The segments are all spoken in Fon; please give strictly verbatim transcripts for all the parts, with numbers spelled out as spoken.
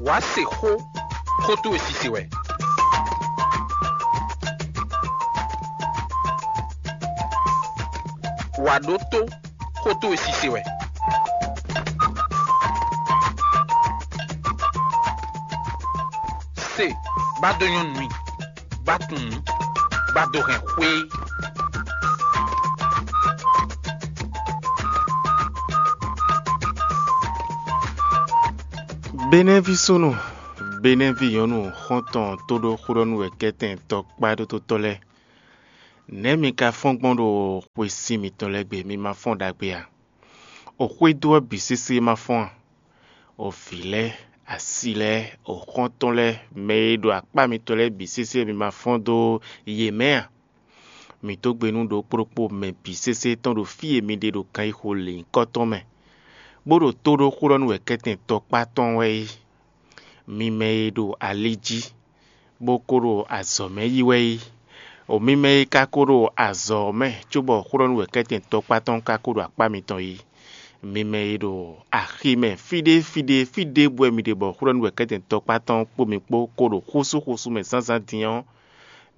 Wǎ se xó, xó towe sise wɛ. Wǎ ɖótó, xó towe sise wɛ. Se, bá dó nyɔ́ nú i, bá tunwun, bá dó hɛn xwé. Benɛ́ví súnnu, Benɛ́ví nyɔ̌nu xɔ́ntɔn tóɖó xóɖɔ́núwɛkɛ́tɛn tɔkpá ɖótótɔ́ lɛ́ɛ, nɛ̌ mi ka fɔ́n gbɔn ɖo xwe sin mitɔn lɛ́ɛ gbe? Mi ma fɔ́n ɖagbe a? O xwédo ɔ́ bǐ sésé ma fɔ́n a? O vǐ lɛ́ɛ, asi lɛ́ɛ, o xɔ́ntɔn lɛ́ɛ, mɛ e ɖo akpá mitɔn lɛ́ɛ bǐ sésé mi ma fɔ́n dó yě mɛ a? Mǐ dó gbe nú ɖokpó ɖokpó mɛ bǐ sésé tɔn ɖo fí e mi ɖe ɖo ganxixo lěnyíkɔ tɔn mɛ, bó ɖo tó ɖó xó ɖɔ nú wɛ̌kɛ́tɛn tɔkpá tɔn wɛ é. Mi mɛ e ɖo ali jí, bó ko ɖo azɔ̌ mɛ yi wɛ é, o mi mɛ e ka ko ɖo azɔ̌ ɔ́ mɛ cóbɔ xó ɖɔ nú wɛ̌kɛ́tɛn tɔkpá tɔn ka ko ɖo akpá mitɔn yi. Mi mɛ e ɖo axi mɛ fí ɖé fí ɖé fí ɖěbǔ wɛ mi ɖe bɔ xó ɖɔ nú wɛ̌kɛ́tɛn tɔkpá tɔn kpó mi kpó ko ɖo xúsúxúsú mɛ zǎnzǎn din ɔ́,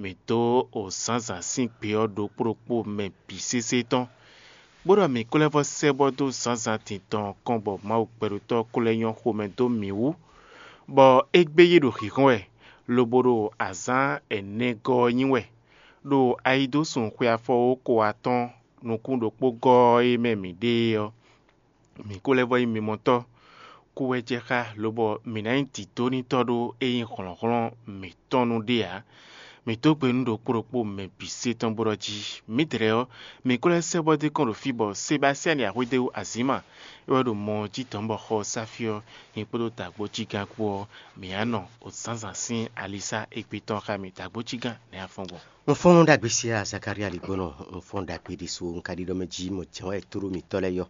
mǐ dó o zǎnzǎn sín gbe ɔ́ ɖokpó ɖokpó mɛ bǐ sésé tɔn, bó ɖɔ mǐ ko lɛ́ vɔ́ sɛ́ bɔ dó zǎnzǎn din tɔn ɔ́ kɔn bɔ Mawu gbɛɖótɔ́ ɔ́ ko lɛ́ nyɔ́ xomɛ dó mǐ wú, bɔ égbé yí ɖo hǐnhɔ́n wɛ, lobo ɖo azǎn ɛnɛgɔ́ ɔ́ nyi wɛ, ɖo ayidósun xwe afɔwóxo atɔ́ɔ́n nukún ɖokpó gɔ́ ɔ́ e mɛ mǐ ɖe é ɔ́, mǐ ko lɛ́ vɔ́ nyí mimɔtɔ́, kú wɛ jɛ xá, lobɔ mǐ ná nyí dǐdónítɔ́ ɖó é nyí hlɔ̌nhlɔ́n mǐtɔn nu ɖe ǎ. Mǐ dó gbe nú ɖokpó ɖokpó mɛ bǐ sé tɔn bó ɖɔ jí: Mǐdɛɛ ɔ́, mǐ ko lɛ́ sɛ́ bɔ dó kɔn ɖo fí bɔ Sebasiyani Axwédéwu Azǐma, é wɛ ɖo mɔ ɔ́ jí dɔ̌n bɔ xɔ ɔ́ sá fí ɔ́, nyí kpódó dǎgbójígán kpó ɔ́, mǐ á nɔ o zǎnzǎn sín alisá égbé tɔn xá mì. Dǎgbójígán, nɛ̌ a fɔ́n gbɔn? Un fɔ́n ɖagbe siya Zakalía ɖigbónɔ, un fɔ́n ɖagbe ɖésú, un ka ɖiɖɔ mɛ jí mɔ jɛ̌n wɛ tóɖó mǐtɔn lɛ́ɛ yɔ.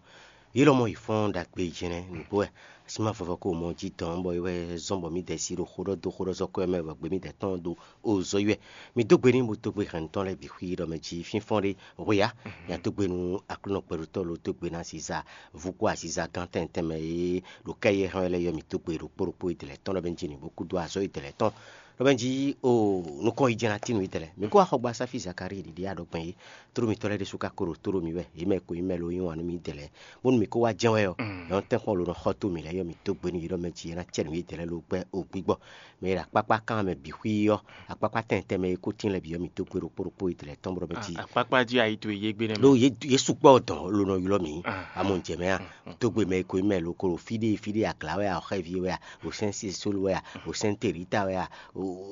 Yě lɔmɔ̌ yi fɔ́n ɖagbe jɛnɛ nǔgbó wɛ. Así ma vɔvɔ ko mɔ jí dɔn bɔ é wɛ zɔ́n bɔ mǐdɛɛ sí ɖo xó ɖɔ dó xó ɖɔ zɔ́ kɔ́ mɛ bɔ gbě mǐdɛɛ tɔn ɖo o zɔ yi wɛ. Mi dó gbe n'i bó dó gbe hɛn tɔn lɛ́ɛ bǐ xwí ɖɔ mɛ jí fínfɔ́n ɖé hwe ǎ. Nya dó gbe nú Aklúnɔ gbɛɖótɔ́ ló dó gbe ná Siza vú kpó aziza gán tɛn tɛnmɛ e ɖo kɛ́ yɛ hɛn wɛ lɛ́ɛ yɔ mǐ dó gbe ɖo kpó ɖokpó e dɛlɛ tɔn ɖɔ mɛ jí nǐ bó kú dó azɔ̌ e dɛlɛ tɔn ɖɔ mɛ jí o nukɔn yi jɛ́n ná tín nú yi dɛlɛ. Mi kó axɔgba Sáfi Zakalíi ɖiɖi aɖɔgbɛn é. Tlóló mitɔn lɛ́ɛ ɖésú ka ko ɖo tlóló mì wɛ, yě mɛ e ko nyí mɛ ló yí wǎn nú mì dɛlɛ, bónú mǐ kó wá jɛ́n wɛ ɔ́, nyɔ̌nu tɛ́nkpɔ́n ló nɔ xɔ tó mǐ lɛ́ɛ yɔ mǐ dó gbe nú yě ɖɔ mɛ jí é ná cɛ nǔ yědɛɛ lɛ́ɛ ló gbɛ́ o gbígbɔ. Mɛ e ɖo akpákpá kan mɛ bǐ xwí ɔ́, akpákpá tɛnmɛ tɛnmɛ e kó tín lɛ́ɛ bǐ ɔ́, mǐ dó gbe ɖokpó ɖokpó yědɛɛ lɛ́ɛ tɔn bó ɖɔ mɛ jí. Akpákpá jí ayi towe yé gbe nɛ́ ɖó mɛ. Yě yě sukpɔ́ dɔn ló nɔ ylɔ́ mǐ. Amɔ un jɛ mɛ a, dó gbe mɛ e ko nyí mɛ ló ko ɖo fí ɖé fí ɖé, agla wɛ a, xɛví wɛ a, ɖo sɛ́n sisólu wɛ a, ɖo sɛ́n telita wɛ a,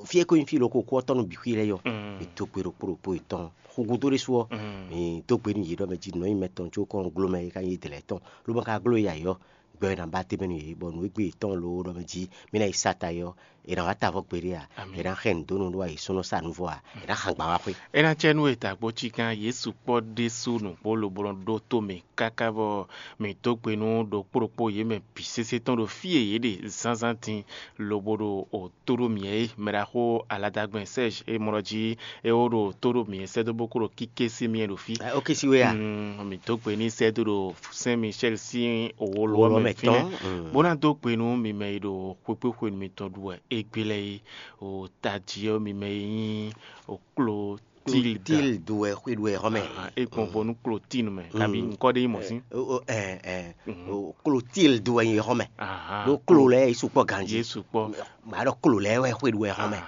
fí e ko nyí fí ló ko kú ɔ́ tɔn nú bǐ xwí lɛ́ɛ yɔ. Mǐ dó gbe ɖokpó ɖokpó yětɔn. Xúgúdó ɖésú ɔ́, mǐ dó gbe nú yě ɖɔ mɛ jí nǔ nyí mɛtɔn có kɔn gló mɛ é ka nyí dlɛ̌ tɔn, ló ma ka gló yě ayǐ ɔ́, gbɛ ɔ́ è nǎ ba tɛ́nmɛ nú yě, bɔ nǔ e gbe yětɔn loo ɖɔ mɛ jí mì ná yi sa ta é ɔ́, è nǎ wá ta avɔ gbeɖé a? È nǎ xɛ nǔ dó nú ɖó ayǐ súnnu sa nǔ vɔ a? È nǎ xan gban wá xwé? É ná cɛ nú we dǎgbó cígán Jezu kpɔ́ ɖésú nǔgbó lobo nɔ ɖó tó mì káká bɔ mǐ dó gbe nú ɖokpó ɖokpó yě mɛ bǐ sésé tɔn ɖo fí e yě ɖe zánzán din, lobo ɖo o tó ɖó mǐ é. Mɛ ɖaxó Aladagbɛn Sɛ́ɛzi e mɔ ɖɔ jí é wó ɖo tó ɖó mǐ é sɛ́ dó bó kó ɖo kíké sí mì é ɖo fí. Ó ké sí we a? Mm, mǐ dó gbe n'i sɛ́ dó ɖo Sɛ́n Misɛ́li sín wolo ɔ́ mɛ fínɛ́, bó ná dó gbe nú mi mɛ e ɖo xwékpéxwenu mitɔn ɖu wɛ égbé lɛ́ɛ é. O tají ɔ́, mi mɛ e nyí o Klotílda. Klotíldu wɛ xwé ɖu wɛ xɔmɛ. É gbɔn vo nú Klotínu mɛ, kabi ŋkɔ ɖé nyí mɔ̌ sín. Klotíldu wɛ nyí xɔmɛ. Ɖó klo lɛ́ɛ yě sukpɔ́ ganjí. Yě sukpɔ́. Màá ɖɔ klo lɛ́ɛ wɛ xwé ɖu wɛ xɔmɛ.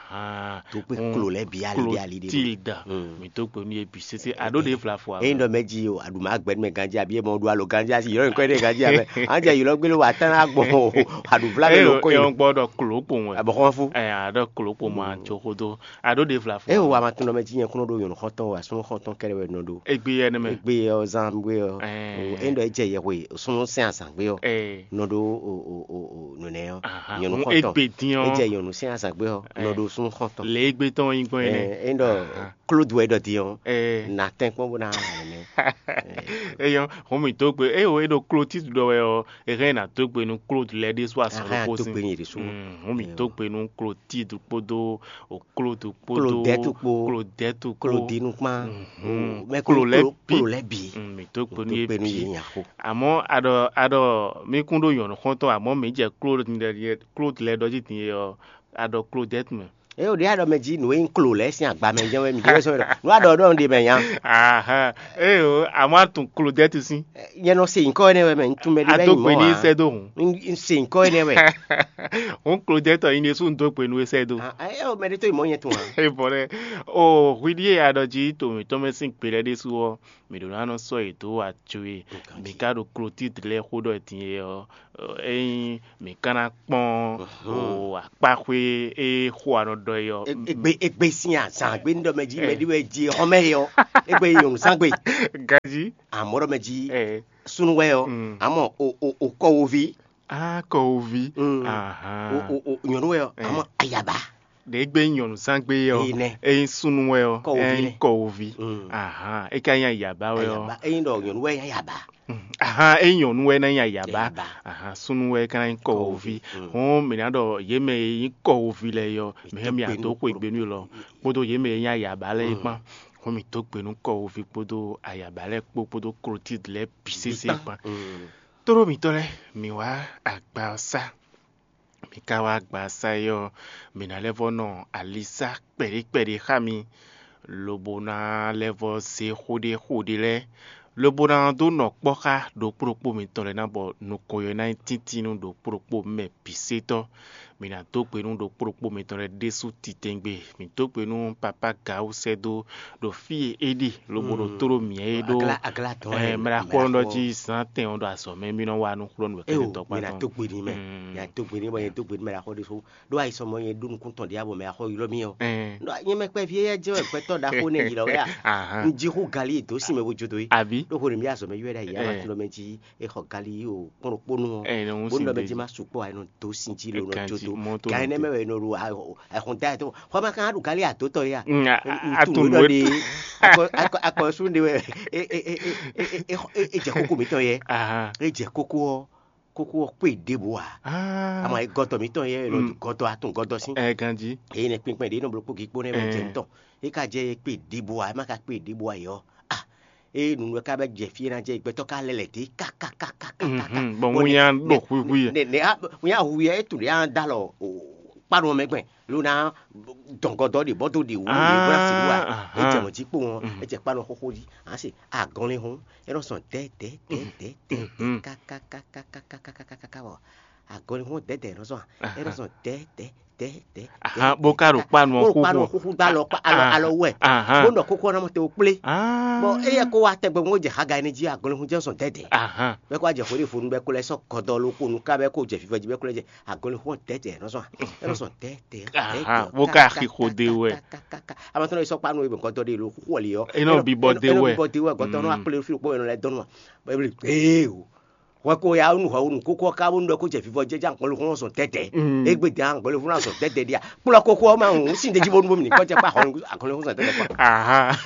Tó kpé klo lɛ́ɛ bǐ ali bǐ ali ɖé. Klotílda. Mǐ dó gbe nú yě bǐ sésé. Aɖó ɖě vlafɔ. Ényí ɖɔ mɛ jí o, aɖu mǎ gbɛ nú mɛ ganjí, abǐ é mɔ ɖu alo ganjí asi yɔ̌ nyǐkɔ ɖé ganjí abɛ. Anjɛ yǐlɔ gbélé wa tán ná gbɔn o, aɖu vlá mɛ ló kɔ yi. Ényí gbɔ ɖɔ klo kpowun wɛ. Abɔ xɔn fú. Ɛ, aɖɔ klo kpowun a tso xó dó. Aɖó ɖě vlafɔ. Eye wa ma tunɔ mɛ jí nyɛ kúnɔ ɖó nyɔ̌nu xɔntɔn wa súnnu xɔntɔn kɛɖɛ wɛ nɔ ɖó. Egbe yɛ nɛ mɛ. Egbe yɛ ɔ zan gbé ɔ. Ɛɛ. Enda ɛ jɛ yɛ hwe súnnu sɛn azan gbé ɔ. Ɛɛ. Nɔ ɖó o o o o nɔnɛ ɔ. Aha. Nyɔ̌nu xɔntɔn. Egbe dín ɔ. Ejɛ nyɔ̌nu sɛn azan gbé ɔ. Ɛɛ. Nɔ ɖó súnnu xɔntɔn. Le egbe tɔn yin gbɔn yɛ nɛ. Ɛɛ, enda Aha. Klodu wɛ ɖɔ dín ɔ. Ɛɛ. Na tɛn kpɔn bó na nɛ. Eyɔ, hɔn mi dó gbe. Eye o e ɖo Klotídu ɖɔ wɛ ɔ, e hɛn na dó gbe nú Klodu lɛ ɖésú asɔ ɖokpó sin. Hɔn mi dó gbe nú Klotídu kpódó o Klodu kpódó Klodɛtu kpó. Klodɛtu kpó. Klodinu kpán. Mɛ klo lɛ bi. Klo lɛ bi. Mi dó gbe nú yé bi. Amɔ aɖɔ aɖɔ mi kún ɖó nyɔ̌nu xɔntɔn, amɔ mi jɛ klo ɖe Klódlɛ ɖɔ jí din e ɔ́, a ɖɔ Klodɛ́t mɛ. Eye wòɖe aɖɔ mɛ jí nǔ e nyí klo lɛ́ɛ sín agba mɛ jɛ́n wɛ mǐ ɖe sɔ́ ɖɔ nǔ aɖɔ ɖɔ ɖe mɛ nya. Aha, eyo, àmọ́ a tunwun Klodɛ́t sín. Nyɛ nɔ se nyǐkɔ énɛ́ wɛ mɛ, un tunwun mɛ ɖé A bɛ dó nyí gbe mɔ n'i ǎ. Sɛ́ dó hǔn. Un se nyǐkɔ énɛ́ wɛ. Hǔn Klodɛ́t ɔ́, nyɛ ɖésú un dó gbe nú we sɛ́ dó. Ah, eye mɛ ɖé tó yi mɔ nyɛ tunwun ǎ. E bɔ lɛ, o hwi ɖíe a ɖɔ jí to mǐtɔn mɛ sín gbe lɛ́ɛ ɖésú ɔ́, mǐ ɖo ná nɔ sɔ́ yě dó ajo e mǐ ka ɖo Klotid lɛ́ɛ xó ɖɔ din é ɔ́, ényí mǐ ka ná kpɔ́n o akpáxwé e xó a nɔ ɖɔ é ɔ́. Egbe egbe sín azǎn gbe ní ɖɔ mɛ jí mɛ ɖé wɛ jí xɔmɛ é ɔ́, egbe nyɔ̌nu zán gbe. Ganjí. Amɔ̌ ɖɔ mɛ jí ɛ súnú wɛ ɔ́, Mm. Amɔ o o o kɔwoví. Á kɔwuví. Mm. Ahán. O o o nyɔ̌nu wɛ ɔ́, Ɛ. Amɔ ayaba. Ɖě gbé nyí nyɔ̌nu zán gbé ɔ́, Ényí nɛ́. Ényí súnnu wɛ ɔ́, Kɔwuví ényí nɛ́. Kɔwuví. Mm. Ahán. É ka nyí ayaba wɛ ɔ́. Ayaba. Ényí ɖɔ nyɔ̌nu wɛ nyí ayaba. Mm. Ahán, ényí nyɔ̌nu wɛ ná nyí ayaba. Ayaba. Ahán, súnnu wɛ ka ná nyí kɔwuví. Kɔwuví. Mm. Hɔn mǐ ná ɖɔ yě mɛ e nyí kɔwuví lɛ́ɛ ɔ́, mǐ hɛn mǐ Mǐ dó adó xwe gbe nú lɔ kpódó yě mɛ e nyí ayaba lɛ́ɛ Mm. kpán. Hɔn mǐ dó gbe nú kɔwuví kpódó ayaba lɛ́ɛ kpó kpódó Klotid lɛ́ɛ bǐ sésé kpán. Mm. Tlóló mǐtɔn lɛ́ɛ, mǐ wá agba ɔ́ sá. Mǐ ka wá agba ɔ́ sá é ɔ́, mǐ ná lɛ́ vɔ́ nɔ alisá kpɛɖé kpɛɖé xá mi, lobo ná lɛ́ vɔ́ zé xó ɖé xó ɖé lɛ́ɛ, lobo ná dó nɔ kpɔ́ xá ɖokpó ɖokpó mitɔn lɛ́ɛ ná bɔ nukɔn ɔ́ ná nyí tíntín nú ɖokpó ɖokpó mɛ bǐ sétɔ́. Mǐ ná dó gbe nú ɖokpó ɖokpó mitɔn lɛ́ɛ ɖésú titɛngbé. Mǐ dó gbe nú papá Gawu sɛ́ dó ɖo fí e é ɖe lobo ɖo tlóló mǐ é ɖó. Aglá aglá tɔn Ɛ, mɛ ɖaxó ɔ́ nɔ jí zán tɛn ɔ́ ɖo azɔ̌ mɛ mí nɔ wá nú xlɔ́ nǔ wɛ̌ Eo, tɔn mí ná kpán tɔn. Dó gbe n'i mɛ, Mm. Mí ná dó gbe n'i bɔ nyɛ dó gbe nú mɛ ɖaxó ɖésú. Ɖó ayisɔmɔ nyɛ ɖó nukún tɔn ɖě abɔ mɛ axɔ ylɔ́ mì ɔ́. Ɛ, Ɖó nyɛ mɛ kpɛví éyɛ́ jɛ́n wɛ gbɛtɔ́ ɖaxó nɛ́ ylɔ́ wɛ a? Ahán. Un jí xú gali e dǒ sin mɛ bó jó dó é. Àbí? Ɖó hwenu mì azɔ̌ mɛ ylɔ́ ɖ'ayǐ Ɛ. Amatúndɔ mɛ jí é xɔ gali yi o kpɔ́n ɖokpó nú ɔ́. Ɛ, nɔ hún Bó nú sin ɖɔ mɛ dó jí yí. Má sukpɔ́ a, è nɔ dǒ sin jí lo nɔ Ganjí, jó dó. Mɔ tó Gan nɔ énɛ́ tó. Mɛ wɛ è nɔ ɖo a- a- Ɛhɔn da ɛ tó xɔ ma kan ɖu gali ato tɔ ya. Mm, a- a- a- Atu nǔ ɖɔ ɖe. Akɔ akɔ akɔ sun ɖe wɛ. E e e e e e e e jɛ kókó mǐtɔn yɛ. Aha. E jɛ kókó ɔ kókó ɔ kpé ɖěbǔ a. Ah. Ama e gɔtɔ mǐtɔn yɛ e nɔ Mm. Gɔtɔ atún gɔtɔ sín. Ɛ ganjí. Eye nɛ kpinkpɛn ɖe nɔ bló kpó gikpó nɛ mɛ jɛ Ɛ. Ŋutɔ. E ka jɛ e kpé ɖěbǔ a, e ma ka kpé ɖěbǔ a yɔ. Ah. Eye nunu ka bɛ jɛ fie na jɛ gbɛtɔ ka lɛ lɛ dé ka ka ka ka ka ka. Mhm, bɔ Bɔ ŋu nya nɛ- ɖo nɛ- xwixwi yɛ. Nɛ nɛ a ŋu ya e tu ɖe a da lɔ o kpanu mɛ gbɛn. Lona dɔngɔdɔ ɖe bɔ do ɖe wu ɖe bɔ na si wa. Ah, E jɛ aha. Mɔ jí kpó wọn, Mhm. E jɛ kpanu xóxó jí. A se agɔnlin hun, e nɔ sɔn dɛ dɛ dɛ dɛ dɛ Mhm. Ka ka ka ka ka ka ka ka ka ka ka bɔ agɔnlin hun dɛ dɛ nɔ sɔn. E nɔ Aha. Sɔn dɛ dɛ dɛ dɛ. Aha, bó ka ɖo kpanu Bó xóxó. Kpanu xóxó do alɔ kpa alɔ Ah. Alɔ wɛ. Aha. Bó nɔ kókó na mɔ te o kplé. Ah. Bɔ e yɛ ko wa tɛgbɛ mo jɛ haga ne jí agɔnlin hun jɛ sɔn dɛ dɛ. Aha. Bɛ ko wa jɛ xwé ɖe fonu bɛ ko lɛ sɔ gɔdɔ lo ko nu ka bɛ ko jɛ fifɔ jí bɛ ko lɛ jɛ agɔnlin xɔ tɛtɛ nɔ sɔn nɔ sɔn tɛtɛ. Aha, wo ka xixo de wɛ. Amatɔ nɔ sɔ kpanu ebe gɔdɔ de lo xɔ li yɔ. Enɔ bibɔ de wɛ. Bibɔ de wɛ gɔdɔ nɔ akple fi kpɔ enɔ lɛ dɔn wa. Bɛbli ee o. Hwɛ ko ya nu hwɛ nu kókó ka bó nu ɖɔ ko jɛ fifɔ jɛ jɛ agɔnlin xɔ sɔn tɛtɛ. Egbe de agɔnlin xɔ sɔn tɛtɛ dia. Kplɔ kókó ma ŋu sin de ji bó nu bó mi kɔ jɛ kpa agɔnlin xɔ sɔn tɛtɛ kpa. Aha.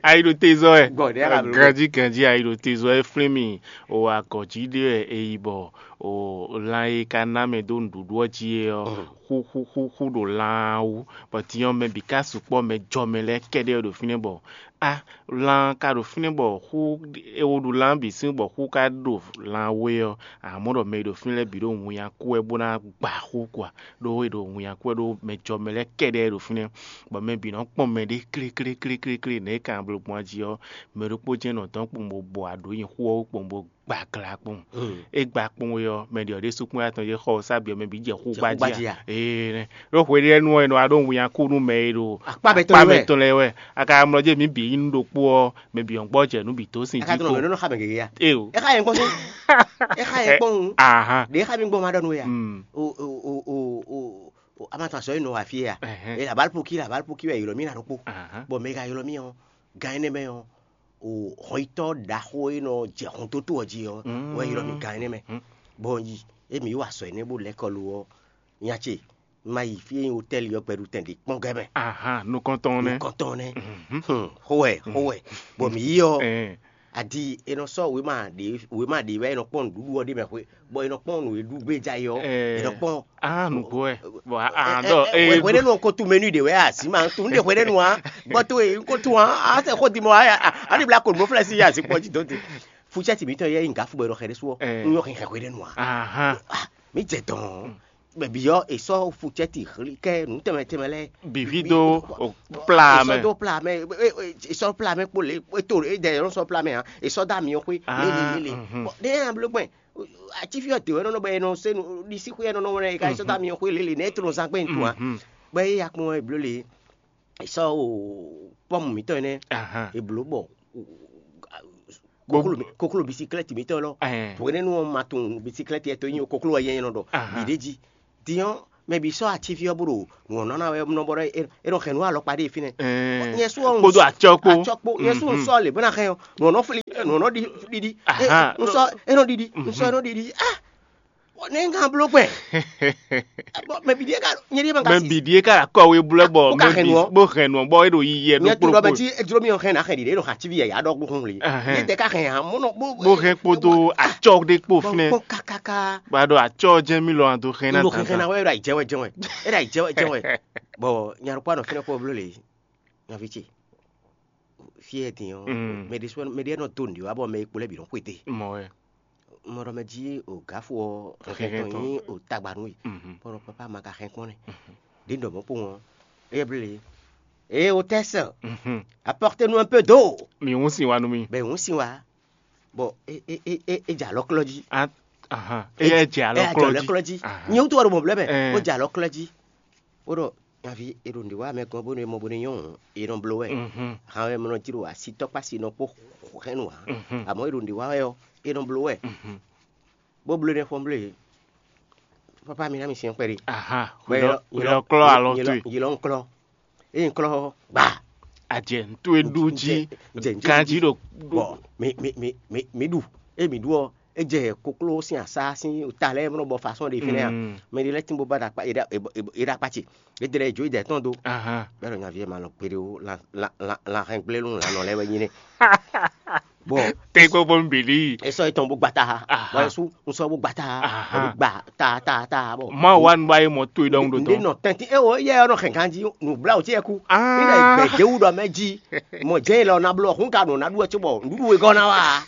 Ayi ɖo te zɔ ɛ. Gɔdɛ la lo. Ganji ganji ayi ɖo te zɔ ɛ flin mi. O agɔji ɖe ɛ eyi bɔ o lan e ka ná mɛ dó nǔɖuɖu ɔ́ jí é ɔ́, xúxúxúxú ɖo lan ɔ́ wú, bɔ din ɔ́ mɛ bǐ ka sukpɔ́, mɛ jɔ mɛ lɛ́ɛ kɛ́ɖɛ́ ɖo fínɛ́ bɔ á lan ka ɖo fínɛ́ bɔ xú e wo ɖu lan bǐ sín bɔ xú ka ɖo lan wú é ɔ́, amɔ̌ ɖɔ mɛ e ɖo fínɛ́ lɛ́ɛ bǐ ɖo winnyá kú wɛ bó ná gba xú kɔ a? Ɖó e ɖo winnyá kú wɛ ɖó mɛ jɔ mɛ lɛ́ɛ kɛ́ɖɛ́ ɖo fínɛ́, bɔ mɛ bǐ nɔ kpɔ́n mɛ ɖé klékléklékléklé nɛ̌ e kan bló gbɔn jí ɔ́, mɛ ɖokpó jɛ́n nɔ dɔn kpowun bó bɔ aɖǒ nyi xú ɔ́ wú kpowun bó gba gla kpowun. É gba kpowun é ɔ́, mɛ ɖě ɔ́ ɖésú kpɔ́n atɔn yě xɔ ɔ sá bǐ ɔ́ mɛ bǐ jɛ xú Jɛ xú gbá jí gbá jí a? Ee nɛ. Ɖó hweɖénu ɔ́, è nɔ wá ɖó winnyá kú nú mɛ e ɖo Akpá mɛ tɔn akpá lɛ́ɛ mɛ wɛ. Tɔn lɛ́ɛ wɛ. A ka mlɔ jɛ mǐ bǐ yi nú ɖokpó ɔ́, mɛ bǐ ɔ́ gbɔ jɛ nǔ bǐ dó sin Aka jí tɔn kó. Mɛ nɔ xa mɛ gege ya. Ee o. E xa yẹn gbɔ sún. E xa yẹn gbɔ hun. Ahan. Ɖe e xa mi gbɔ ma ɖɔ nu ya. Mm. O o o o o o a ma tɔn asɔ yi nɔ wa fi ya. Ɛhɛn. E la bali poki la bali poki wɛ yi lɔ mi na ɖokpó. Ahan. Bɔn mɛ ka yi lɔ mi ɔ gan yi nɛ mɛ ɔ o hɔnyitɔ ɖaxó e nɔ jɛ xɔntoto ɔ jí ɔ Mm. Wɛ yi lɔ mi gan yi nɛ mɛ. Mm. Bɔn yi e mi wa sɔ yi nɛ bo lɛ kɔlu ɔ nya ce ma yi fi e nyi hotɛli ɔ gbɛɖutɛn ɖe kpɔn gɛ mɛ. Ahan, nukɔntɔn nɛ. Nukɔntɔn nɛ. Mhm. Hmm, xowɛ xowɛ. Bɔn mi yi ɔ Ɛɛ. Adi e nɔ sɔ wema ɖe wema ɖe wɛ e nɔ kpɔn nuɖuɖu ɔ ɖe mɛ xwe bɔ e nɔ kpɔn nu e ɖu gbé ja yi ɔ Ɛɛ. E nɔ kpɔn Ah, nugbo ɛ. Bon, ah, ah, Ɛ- dɔ, ɛ- eh, hwɛɖenu ɔ ko tu menu ɖe wɛ asi ma tu nu ɖe hwɛɖenu a bɔ to e ko tu a a sɛ xo di mɔ a a a ni bla ko nu flɛ si ya asi kpɔ ji dɔn te. Futsɛti mitɔn yɛ yin gafu bɔ e nɔ xɛ ɖe su ɔ Ɛ. N yɔ xɛ hwɛɖenu a Ahan. Ah, mi jɛ dɔn. bɛbiyɔ esɔ futsɛti hlikɛ nú tɛmɛ tɛmɛ lɛ. Bivi do o pla mɛ. Esɔ do pla mɛ. Esɔ pla mɛ kpo le eto e dɛ yɔrɔ sɔ pla mɛ hã. Esɔ da mi xwe lele lele. Ne yà blo gbɛn ati fi ɔtɛ wɛ nɔnɔ bɛ nɔ se ɖisi xwe nɔnɔ wɛ ka esɔ da mi xwe lele ne eto zan gbɛn tu hã. Bɛ e ya kpɔn wɛ blo le esɔ o pɔmu mitɔ nɛ eblo bɔ koklo bisiklɛti mitɔ lɔ. Hwenɛnu ɔ́ ma tunwun bisiklɛti ɛtɔ nyi koklo wɛ yɛn nɔ ɖɔ. Ɖiɖe jí diɔ mɛ bi sɔ ati fi ɔ́ bó ɖo nǔ ɔ́ nɔ ná wɛ nɔ bɔ ɖɔ é nɔ hɛn nú alɔkpa ɖe fínɛ́. Nyɛ su ɔ́ kpódó atsɔ kpó. Atsɔ kpó nyɛ su ɔ́ sɔ lě bó ná hɛn ɔ́ nǔ ɔ́ nɔ fli nǔ ɔ́ nɔ ɖi ɖiɖi. N sɔ é nɔ ɖiɖi n sɔ é nɔ ɖiɖi ah ne n kan bló gbɛn. Mɛ bi ɖie ka nyɛ ɖie ma ka si. Mɛ bi ɖie ka kɔ we blɛ bɔ bó hɛn nǔ ɔ́ bó hɛn nǔ ɔ́ bɔ é ɖo yiyi ɛ ɖó kpló kpó. Nyɛ tu ɖɔ mɛ tí edro mi ɔn hɛn na hɛn ɖiɖe ɖo hã tí vi yɛ ya ɖɔ gbóhùn li. Yɛ tɛ ka hɛn hã mɔnɔ bó. Bó hɛn kpódó atsɔ ɖé kpó fínɛ́. Bó kaka. Ba ɖo atsɔ jɛ mi lɔ ado hɛn na. Lo hɛn na wɛ ɖo ayi jɛwɛ jɛwɛ. E ɖo ayi jɛwɛ jɛwɛ. Bɔ nyarukpa nɔ fínɛ́ kpó bló le. Nyavi ce. Fí e din ɔ́, mɛ ɖé sɔ́ mɛ ɖé nɔ dó nǔɖé wá bɔ mɛ e kpo lɛ́ɛ bǐ nɔ xwedó e. Mɔ wɛ. Mɔ ɖɔ mɛ jí o gǎfo ɔ́ hɛn tɔn nyí o tagba nú we. Bɔ ɖɔ papa ma ka hɛn kpɔ́n nɛ. Ɖě ɖɔ mɔ̌ kpowun ɔ́, éyɛ́ bló lě. Ée o tɛ́ sɛ, apɔ́rté nú un peu d'eau. Mǐ hún sin wa nú mì. Bɛ hún sin wa, bɔ é é é é é jɛ alɔklɔ́ jí. Ahan. Éyɛ́ jɛ alɔklɔ́ jí. Nyɛ wútu wɛ ɖo mɔ̌ blɛ́ mɛ, ó jɛ alɔklɔ́ jí. Bó ɖɔ nyaví è ɖo nǔɖé wa mɛ gɔ́n bónú é mɔ bónú é nyɔ́ hǔn, è nɔ bló wɛ. Hǎn wɛ mlɔ jí ɖo asítɔ́kpá si nɔ kpó hɛn nǔ ǎ. Àmọ́ è ɖo nǔɖé wa wɛ ɔ́, è nɔ bló wɛ. Bó bló nɛ́ fɔ́n bló e. Pápá mi ná mi syɛ́n kpɛɖé. Aha. Wɛ Wɛ lɔ- wɛ lɔ klɔ́ alɔ towe. Yi lɔ ń klɔ́. Ényí klɔ́ ɔ́, gbaa. Àjɛ ntú e ɖu jí. Jɛ- jɛ- Ganjí ɖo. Bɔ mi mi mi mi mi ɖu. Eye mi ɖu ɔ́, é jɛ kokló sín asá sín ta lɛ́ɛ mlɔ bɔ fasɔ́n ɖe fínɛ́ a. Mɛ ɖé lɛ́ɛ tín bó ba ɖo akpá é ɖo akpá ce. É ɖe lɛ́ɛ jó é dɛ tɔn dó. Bɛ́ ɖɔ nyaví ɛ ma lɔ kpeɖé ó. Lan lan lan hɛn gblé nú lanɔ lɛ́ɛ wɛ nyí nɛ́. Bɔ Tɛ́ kpɔ́kpɔ́ nú bǐ lí. É sɔ́ étɔn bó gba ta ha. Bɔ é sú un sɔ́ bó gba ta ha. Bó gba ta ta ta bɔ. Má wá nu bá yé mɔ tó é ɖɔhun ɖo Ndé tɔn. Nɔ tɛntin é o yɛ ɔ́ nɔ hɛn ganjí nǔbláwǔ ce yɛ kú. Níɖɔ ìgbɛjɛwú ɖɔ mɛ jí. Mɔ jẹ́ ìlọ na blɔ hún ka nɔ ná ɖu ɛ cóbɔ nǔɖuɖu e gɔ́ ná wá.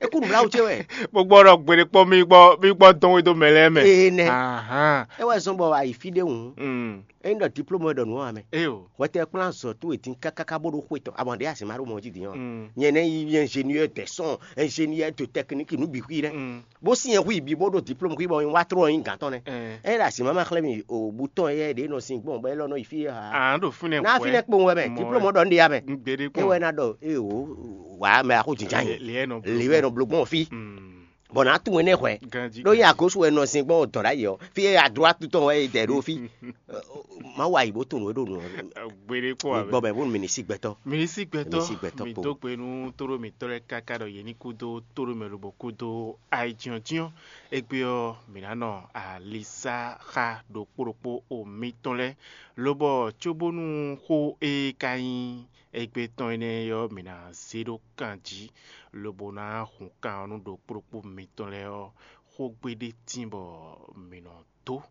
É kú nǔbláwǔ ce wɛ. Bó gbọ́ ɖɔ gbeɖé kpɔ́n mí gbọ́ mí gbọ́ dɔn wé dó mɛ lɛ́ɛ mɛ. Ee nɛ. Ahán. É wɛ zɔ́n bɔ a yi fí ɖé hǔn. Mm. Ényí ɖɔ diplôme wɛ ɖɔ nǔ ɔ́ ǎ mɛ. Éyo. Hwɛtɛ kplán azɔ̌ towe dín kákáká bó ɖó xwe tɔn. Abɔ ɖě asi má ɖó mɔ jí din ɔ́. Mm. Nyɛ nɛ́ nyí ingénieur des sons, ingénieur de technique nǔ bǐ xwí nɛ́. Mm. Bó syɛn hu yi bǐ bó ɖo diplôme xwí bɔ wá tró ɔ́ nyí gǎn tɔn nɛ́. Ɛ. Ényí ɖɔ asi má ma xlɛ́ mi o butɔn yɛ ɖě nɔ sin gbɔn bɔ é lɔ nɔ yi fí ha. À ń ɖo fínɛ́ Ná fínɛ́ kpowun wɛ mɛ. Diplôme ɖɔ ń ɖe ya mɛ. Gbeɖé É kpɔn. Wɛ ná ɖɔ ée o wǎ mɛ axó jǐjá nyi. Lě ɛ nɔ bló Lě wɛ gbɔn. Nɔ bló gbɔn fí. Mm. Bɔ nǎ tunwun énɛ́ hwɛ. Ganjí ɖó nyí agosú wɛ nɔ sin gbɔn dɔ̌n ɖ'ayǐ ɔ́ fí e adró atutɔn wɛ é dɛ ɖó fí. Má wa yi bó tunwun é ɖo nǔ ɔ́. Gbeɖé kpɔn wɛ. Gbɔ mɛ bónú mi ní sí gbɛtɔ́. Mi ní sí gbɛtɔ́. Mi sí gbɛtɔ́ Mi kpo. Dó gbe nú tóɖó mǐtɔn lɛ́ɛ káká ɖɔ yě ní kúdó tóɖó mɛ lobɔ kúdó ayijɔ́njɔ́n. Égbé ɔ́, mǐ ná nɔ alisá xá ɖokpó ɖokpó o mǐtɔn lɛ́ɛ, lobɔ cóbónú xó e ka nyí égbé tɔn énɛ́ ɔ́, mǐ ná zé ɖó kan jí, lobo ná hun kan ɔ́ nú ɖokpó ɖokpó mitɔn lɛ́ɛ ɔ́, xógbe ɖé tíin bɔ mǐ nɔ dó,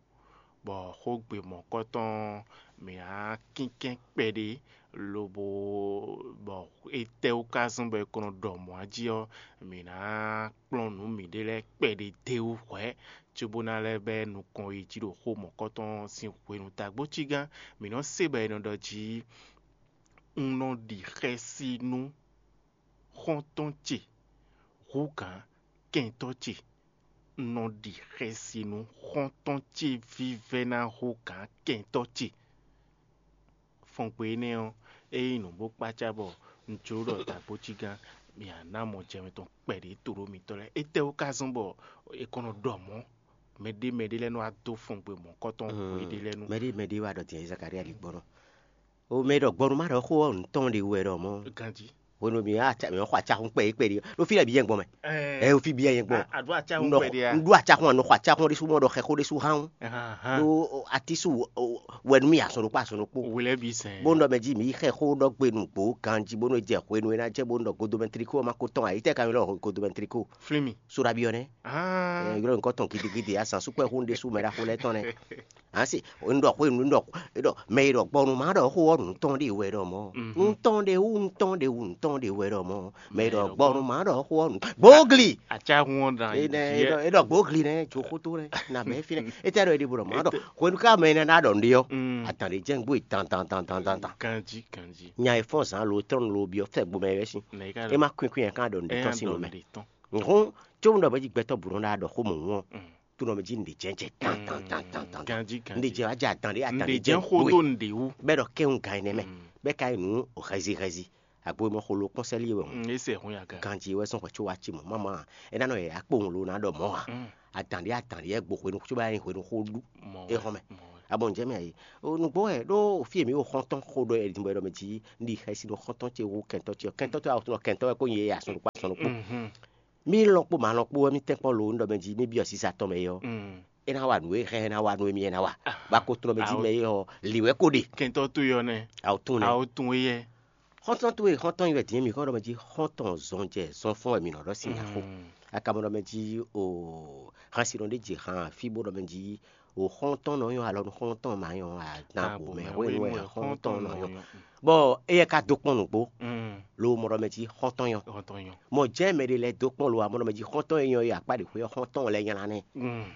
bɔ xógbe mɔ̌kɔtɔn ɔ́, mǐ ná kínkɛ́n kpɛɖé, lobo bɔ étɛ́wú ka zɔ́n bɔ è ko nɔ ɖɔ mɔ̌ jí ɔ́, mǐ ná kplɔ́n nǔ mǐɖée lɛ́ɛ kpɛɖé d'é wú hwɛ̌, cóbó ná lɛ́ bɛ́ nukɔn yi jí ɖo xó mɔ̌kɔtɔn ɔ́ sín hwenu. Tagbócígán, mǐ nɔ se bɔ è nɔ ɖɔ jí un nɔ ɖi xɛsi nú xɔ́ntɔn ce hú gǎn kɛntɔ́ ce. Un nɔ ɖi xɛsi nú xɔ́ntɔn ce vívɛ́ná hú gǎn kɛntɔ́ ce. Fɔngbe énɛ́ ɔ́, é nyí nǔ bó kpácá bɔ un jló ɖɔ tagbócígán mǐ ná ná mɔ jɛmɛ tɔn kpɛɖé to ɖó mitɔn lɛ́ɛ. Étɛ́wú ka zɔ́n bɔ è kɔn nɔ ɖɔ mɔ̌? Mɛɖé mɛɖé lɛ́ɛ nɔ wá dó fɔngbe mɔ̌kɔtɔn hweɖé lɛ́ɛ nu. Mɛɖé mɛɖé wá ɖɔ din Zakaria ligbɔnɔ. O mɛ ɖɔ gbɔnu má ɖɔ xó ɔ́ nǔ tɔn ɖe wɛ ɖɔ mɔ̌. Ganjí. Hwenu mi wá atsa mi xɔ atsahun kpɛ kpɛ ɖi ɖo fi lɛ bi yɛn gbɔn mɛ. Ɛ o fi bi yɛn gbɔn. Aɖu atsahun kpɛ ɖi a. N ɖu atsahun anɔ xɔ atsahun ɖésú mɔ ɖɔ xɛ xó ɖésú hán. Ɖo atisu wɛnu mi asɔn ɖokpó asɔn ɖokpó. Wele bi sɛn. Bó nɔ mɛ jí mi xɛ xó ɖɔ gbe nugbo ganjí bónú jɛ hwenu e ná jɛ bónú ɖɔ godomɛ triko ɔ́ ma ko tɔn ayitɛ ka mi lɔ godomɛ triko. Flimi. Sura bi ɔnɛ. Aa. Yɔrɔ nukɔ tɔn gidigidi asan sukpɛ hun ɖésú mɛ ɖaxó lɛ tɔn nɛ. Asi, un ɖɔ xwe un ɖɔ ɖɔ mɛ e ɖɔ gbɔnu ma ɖɔ xó ɔ́ nǔ tɔn ɖe wɛ ɖɔ mɔ. Nǔ tɔn ɖe wú nǔ tɔn ɖe wú nǔ tɔn ɖe wɛ ɖɔ mɔ. Mɛ e ɖɔ gbɔnu ma ɖɔ xó ɔ́ nǔ gbogli. Atsahun ɔ́ dan. E ɖɔ gbogli nɛ tso xótó nɛ na mɛ fi nɛ. Etɛ ɖɔ e ɖi bo ɖɔ ma ɖɔ hwenu ká mɛ nɛ na ɖɔ nɖe ɔ́. Atan ɖe jɛn gbó yi tan tan tan tan tan tan. Ganji ganji. Nya e fɔ́n zan lo trɔ́n lo byɔ́ fɛ gbomɛ wɛ sin. E ma kwin kwin yɛ kan ɖɔ nɖe tɔn sin lo mɛ. Nhɔn tso un ɖɔ bɛ dzi gbɛtɔ bu nɔ ɖa ɖɔ xó mɔ ŋu ɔ́. Tunɔ mɛ dzi nɖe jɛn jɛ tan tan tan tan tan. Ganji ganji. Nɖe jɛ wá jɛ adan ɖe adan Nɖe ɖe jɛn jɛn xó xó tó nɖe wú. Bɛ ɖɔ kɛn un gan ɛnɛ mɛ. Bɛ ka yi nǔ o xɛzi xɛzi. Agbo mɔ xolo kpɔn sɛli wɛ. Ese hun ya gan. Ganji wɛ sɔn xɔ tso wa ci mɔ mama. Ena nɔ yɛ akpo un lo na ɖɔ mɔ a. Adan ɖe adan ɖe yɛ gbo hwenu tso ba yi hwenu xó ɖu. Mɔ E xɔ mɛ. Abɔ njɛ mɛ ayi. O nugbo wɛ ɖo fi mi o xɔntɔn xó ɖɔ ɛdi bɔ ɛdɔ mɛ dzi ndi xɛsi ɖo xɔntɔn ce wu kɛntɔ ce kɛntɔ ce awɔtun kɛntɔ wɛ ko nyi ye asɔn ɖokpo asɔn ɖokpo. Mi lɔn kpo ma lɔn kpo wɛ mi tɛn kpɔn lo un ɖɔ mɛ dzi mi byɔ sisa tɔn mɛ yɔ. E na wa nǔ e hɛn e na wa nú émí e na wa. Ba ko tlɔ mɛ jí mɛ e ɔ li wɛ ko ɖe. Kɛntɔ towe ɔ́ nɛ́. Awo tún nɛ. Awo tún éyɛ́. Xɔ́ntɔn towe xɔ́ntɔn yi wɛ dín mǐ kɔn ɖɔ mɛ jí xɔ́ntɔn zɔn jɛ zɔn fɔ́n wɛ mǐ nɔ ɖɔ sin nya xó. Akamɔ ɖɔ mɛ jí o hansinɔ ɖé ji han fí bó ɖɔ mɛ jí o xɔ́ntɔn nɔ nyɔ alɔ nú xɔ́ntɔn ma nyɔ adan bo mɛ hwenu wɛ xɔ́ntɔn nɔ nyɔ. Bɔ éyɛ́ ka dó kpɔ́n nǔgbó. Lo mɔ ɖɔ mɛ jí xɔ́ntɔn nyɔ. Mɔ jɛ́n mɛ ɖé lɛ́ɛ dó kpɔ́n lo amɔ ɖɔ mɛ jí xɔ́ntɔn e nyɔ yi akpá ɖě xwé ɔ́ xɔ́ntɔn lɛ́ɛ nylá nɛ́.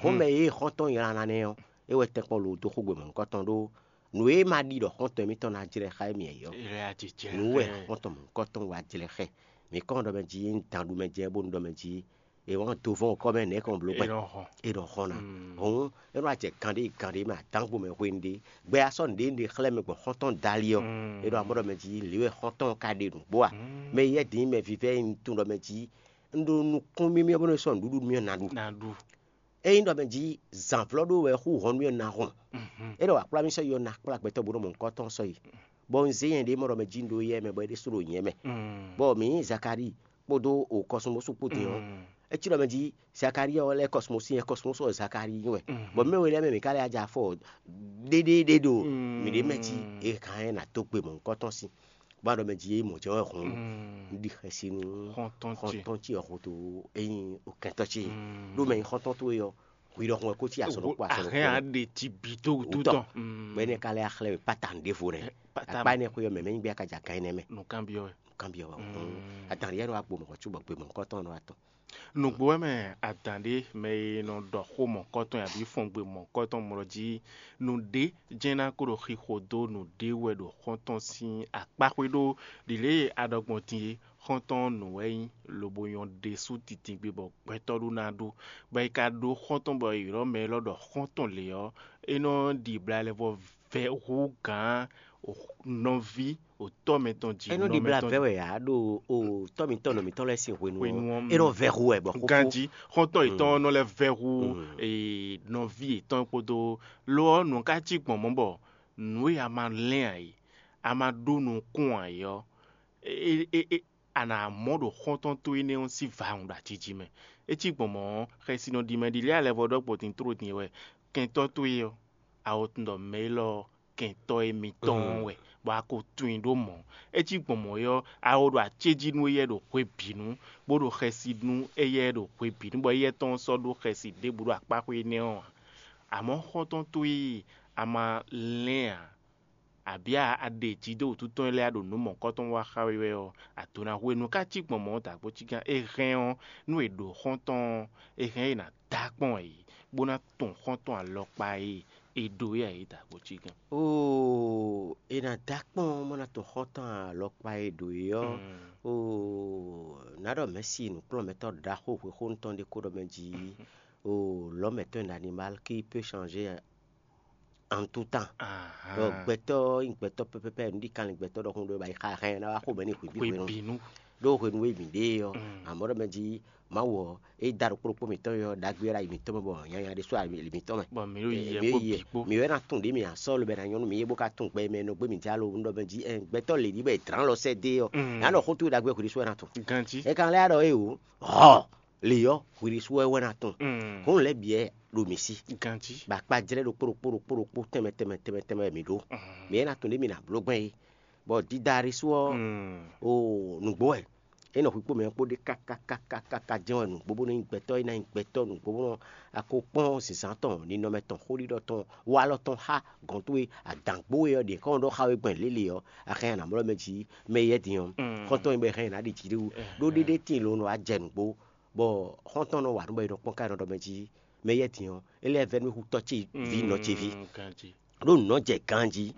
Xɔ́mɛ e xɔ́ntɔn nylá ná nɛ́ ɔ́, é wɛ tɛ́nkpɔ́n lo dó xógbe mɔ̌hunkɔtɔn ɖó nǔ e ma ɖi ɖɔ xɔ́ntɔn émítɔn ná jlɛ́ xá émí ɛ ɔ́. Nǔ wɛ xɔ́ntɔn mɔ̌hunkɔtɔn wá jlɛ́ xá ɛ. Mǐ kɔn ɖɔ mɛ jí un dan ɖu mɛ jɛ bónú ɖɔ mɛ jí è wɔn do vɔn kɔ mɛ nɛ̌ kɔn bló gbɛ. É nɔ hɔn ná. Hɔn é nɔ acɛ kan ɖé kan ɖé mɛ adángo mɛ hwenu ɖé gbɛ asɔ nǔɖé nɖé xlɛ́ mɛ gbɔn xɔ́ntɔn dali ɔ́. É ɖɔ amɔ́ ɖɔ mɛ jí lě wɛ xɔ́ntɔn ka ɖe nǔgbó a. Mɛ yɛ dín mɛ vívɛ́ un tunwun ɖɔ mɛ jí un ɖo nukún mímíɔ bónú é sɔ́ nǔɖuɖu mímíɔ ná ɖu. Ényí ɖɔ mɛ jí zǎnvlɔ́ ɖó wɛ xú hɔn nú ɛ ná hɔn. É ɖɔ akplámísɔ́ yi ɔ́ ná kplá gbɛtɔ́ bó nɔ mɔ nukɔntɔn sɔ́ yi. Bɔ un zé nyɛ ɖě mɔ ɖɔ mɛ jí un ɖó yɛ mɛ bɔ é ɖésú ɖo nyɛ mɛ. Bɔ mǐ nyí Zakalíi kpódó o kɔsúmɔsú kpó din ɔ́, é cí ɖɔ mɛ jí Zakalíi ɔ́ lɛ́ kɔsúmɔsú nyɛ kɔsúmɔsú ɔ́ Zakalíi nyí wɛ. Bɔ mɛ wɛ lɛ́ɛ mɛ mǐ ka lɛ́ ajá fɔ ɖéɖéɖé ɖo mǐɖée mɛ jí è hǎn ɛ ná dó gbe mɔ̌hunkɔtɔn sín. Bó a ɖɔ mɛ jí é mɔ jɛ́n wɛ hɔn un ɖi xɛsi nú xɔ́ntɔn ce ɔ́ xótó é nyí okɛntɔ́ ce. Ɖó mɛ nyí xɔ́ntɔn towe ɔ́, hwi ɖɔhun wɛ kó cí asɔnukpo asɔnukpo. Ahɛn aɖe ci bǐ dó wútu tɔn. Bɔ énɛ́ ka lɛ́ axlɛ́ we pátá ɖěvo nɛ́. Akpá énɛ́ xwé ɔ́ mɛ mɛ nyí gbé akaja gán énɛ́ mɛ. Nukánbyɔ́ wɛ. Nukánbyɔ́ wɛ. Adan ɖé yɛ nɔ wá gbo mɔ̌ cóbɔ gbe mɔ̌hunkɔtɔn nɔ wá tɔn. Nǔgbó wɛ mɛ adǎn ɖé mɛ e nɔ ɖɔ xó mɔ̌kɔtɔn abǐ fɔngbe mɔ̌kɔtɔn mlɔ jí nǔɖé jɛ́n ná ko ɖo xixo dó nǔɖé wɛ ɖo xɔ́ntɔn sín akpáxwé ɖó ɖi lě e a ɖɔ gbɔn din é. Xɔ́ntɔn nǔ wɛ nyí lobo nyɔ́ ɖésú titingbe bɔ gbɛtɔ́ ɖó ná ɖó, bɔ è ka ɖó xɔ́ntɔn bɔ è ylɔ́ mɛ élɔ́ ɖɔ xɔ́ntɔn lě ɔ́, é nɔ ɖi blalɛ vɔ vɛ hú gǎn nɔví otɔ́ mɛtɔn jí. É nɔ ɖi bla vɛ wɛ ǎ ɖo o tɔ́ mǐtɔn nɔ mǐtɔn lɛ́ɛ sín hwenu ɔ́, é nɔ vɛ hu wɛ bɔ xóxó. Ganjí xɔ́ntɔn yětɔn nɔ lɛ́ vɛ hu nɔví yětɔn kpódó. Lo ɔ́, nǔ ka cí gbɔn mɔ̌ bɔ nǔ e a ma lɛ́n ǎ é, a ma ɖó nukún ǎ é ɔ́, a nǎ mɔ ɖo xɔ́ntɔn towe énɛ́ ɔ́ sín vawun ɖo aciji mɛ. É cí gbɔn mɔ̌ ɔ́, xɛsi nɔ ɖi mɛ ɖi lɛ́ alɛvɔ ɖɔ gbɔn din tló din wɛ kɛntɔ́ towe ɔ́, a wo tunwun ɖɔ mɛ élɔ́ ɔ́, kɛntɔ́ émítɔn wɛ, bɔ a ko tunwun i ɖó mɔ̌. É cí gbɔn mɔ̌ ɔ́, a wo ɖo acéjí nú éyɛ́ ɖo hwe bǐ nu, bó ɖo xɛsi nú éyɛ́ ɖo hwe bǐ nu, bɔ éyɛ́ tɔn sɔ́ ɖó xɛsi ɖěbǔ ɖo akpáxwé énɛ́ ɔ́ ǎ. Amɔ̌ xɔ́ntɔn towe e a ma lɛ́n ǎ, abǐ a ɖe jǐ dó wǔtu tɔn lɛ́ɛ ɖo nǔ mɔ̌kɔtɔn wa xá we wɛ ɔ́, a do ná hu e. Nǔ ka cí gbɔn mɔ̌ dǎgbó cí gán? È hɛn ɔ́, nú è ɖǒ xɔ́ntɔn ɔ́, è hɛn é ná dá kpɔ́n ǎ é, bó ná tun xɔ́ntɔn alɔkpa e è ɖǒ é ǎ é dǎgbó cí gán. Oo, è nǎ dá kpɔ́n bó ná tun xɔ́ntɔn alɔkpa e ɖǒ é ɔ́. Oo, nǎ ɖɔ mɛ̌si nǔkplɔ́nmɛtɔ́ ɖaxó hwexónu tɔn ɖé ko ɖɔ mɛ jí. Oo, l'homme est un animal qui peut changer en tout temps. Ɖɔ gbɛtɔ́ nyí gbɛtɔ́ pɛpɛpɛ nǔɖikanlin gbɛtɔ́ ɖɔhun ɖo ba yi xa hɛn ná wá xo mɛ ní hwǐ bí hwenu. Ɖó hwenu e mǐ ɖe ɔ́, amɔ̌ ɖɔ mɛ jí Mawu ɔ́, é da ɖokpó ɖokpó mǐtɔn ɔ́ ɖagbe wɛ ɖo ayi mǐtɔn mɛ bɔ nyanya ɖésú ayi mǐtɔn mɛ. Bɔ mǐ ɖo yi yɛ bó bǐ kpó. Mǐ wɛ ná tún ɖě mǐ asɔ́ lobɛ ná nyɔ́ nú mǐ é bó ka tún gbɛ mɛ nɔ gbé mǐ jalo un ɖɔ mɛ jí ɛn gbɛtɔ́ lě ɖi bɔ è dlǎn lɔ sɛ́ dé ɔ́. Ná ɖɔ xó towe ɖagbe hwǐɖésú wɛ ná tún. Ganjí. É kan lɛ́ ɖɔ é o. Hɔ lě ɔ́ hwǐɖésú wɛ wɛ ná tún. Hɔn lɛ́ bǐ wɛ ɖo mǐ sí. Ganjí. Bɔ akpajlɛ́ ɖokpó ɖokpó ɖokpó ɖokpó tɛnmɛ tɛnmɛ tɛnmɛ tɛnmɛ mǐ ɖó. Mǐ é ná tún ɖě mǐ ná bló gbɛn é. Bɔ Didarisú ɔ́, o nǔgbó wɛ. É nɔ hwikpó mɛ ɔ́ kpó ɖe kákákákáká jɛ́n wɛ nǔgbó bónú nyí gbɛtɔ́ e ná nyí gbɛtɔ́ nǔgbó bónú a ko kpɔ́n zǐnzán tɔn, ninɔmɛ tɔn, xóɖiɖɔ tɔn, walɔ tɔn xá gɔ̌n towe, adǎngbó e ɔ́ ɖě kɔn ɖɔ xá we gbɔn lěle ɔ́, a hɛn a nǎ mlɔ́ mɛ jí mɛ yɛ́ din ɔ́, xɔ́ntɔn e bɔ è hɛn è nǎ ɖi jǐ ɖé wú. Ɖó ɖéɖé tíin lo nɔ wá jɛ nǔgbó, bɔ xɔ́ntɔn nɔ wa nǔ bɔ è nɔ kpɔ́n ká è nɔ ɖɔ mɛ jí mɛ yɛ́ din ɔ́, é lɛ́ vɛ́ nú xutɔ́ ce ví nɔ ce ví. Ɖó nǔ nɔ jɛ ganjí.